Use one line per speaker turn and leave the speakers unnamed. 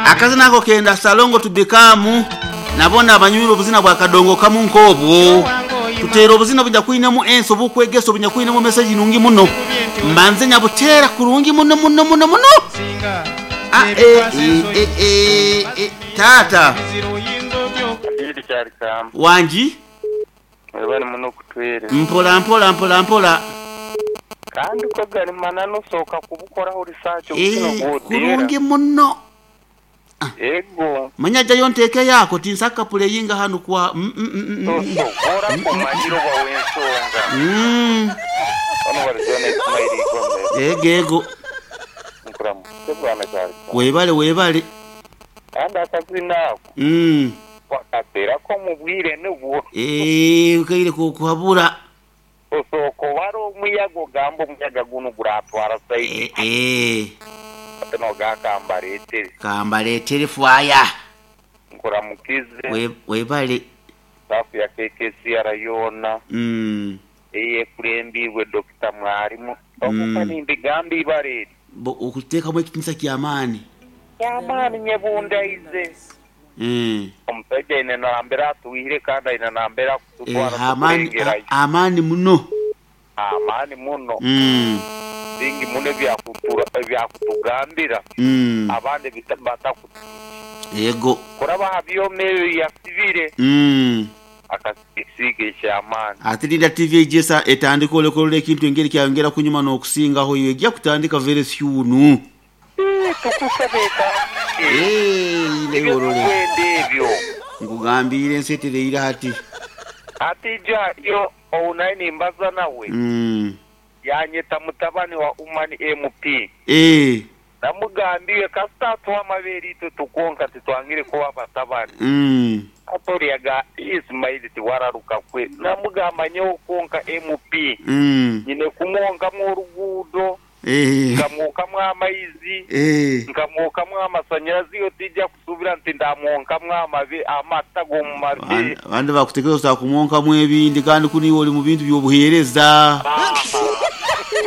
Akazina ako kenda Ssalongo to become na bona abanyumirwa obuzina bwa kadongo kamu nk'obwo. Tuteere obuzina obunyakwinemu ensi obukwegesa obunyakwinemu meseji nungi muno. Mbanze nyabuteera kurungi muno muno muno muno. A e i e e e Taata.
Adili Kyarikamba.
Wangi.
Webale muno okutwereza.
Mpola mpola mpola mpola.
Kandi ko gari mananu osooka kubukoraho research obukina
Eeh
obwoteera.
kurungi muno.
Ego.
Manya jayo ntekeyo ako tinsaka puleyinga hanu kwa mm mm mm mm.
Tosobora kumanyira oba w'ensonga.
Mm.
Banu bari John Ismail Igombe.
Ego ego.
Nkuramukye bwana Kyarikamba.
Webale webale.
Kandi akazina ako
Mm.
wakateeraku omu bwire nibwo.
Eeh okaire k'okuhabura.
Osooka obare omuyaga ogambe omuyaga gunu guratwara sayidi ki?
Eeh.
Hati nogamba kambareetere.
Kambareetere fwaya.
Nkuramukize.
Webale.
Staff ya KKCR yoona
Mm.
eyekurembiirwe Dokita Mwarimu. Ogu ka nimbigamba ibara eri.
Bo okuteekamu ekitiinisa ky'amaani.
Ky'amaani nyebundaize. Omusaija aine nambere atwihire kandi aine nambere akututwara tukurengerayo.
Amaani muno.
Amaani muno. Bingi muno ebyakutugambira abandi batakutuhikya.
Ego.
Kuraba aha byoma ebyo yasibire akasiiga eky'amaani.
Ate linda TV eije etandike olekorora ekintu engeri kyayongera kunyuma n'okusingaho yo eja kutandika very soon.
Tukusabe etandike.
Eeh
Ebyo
orole.
tukwenda ebyo.
Nkugambiire ensi etereire hati.
Hati ijo hariyo ou nari nimbaza nawe, yanyeta mutabani wa Umani MP. Namugambiire kasita atuha amabeere itwe tukonka titwangire kuba batabani. Hati oriya ga Ismail tiwararuka kwe. Namugamba nyowe kwonka MP nyine kumwonkamu oruguudo, nkamwokamu amaizi, nkamwokamu amasanyarazi iwe tija kusuubira nti ndamwonkamu amata g'omu mabe.
Abandi bakutekereza otakumwonkamu ebindi kandi kunu iwe oli mu bintu by'obuheereza.
Aha.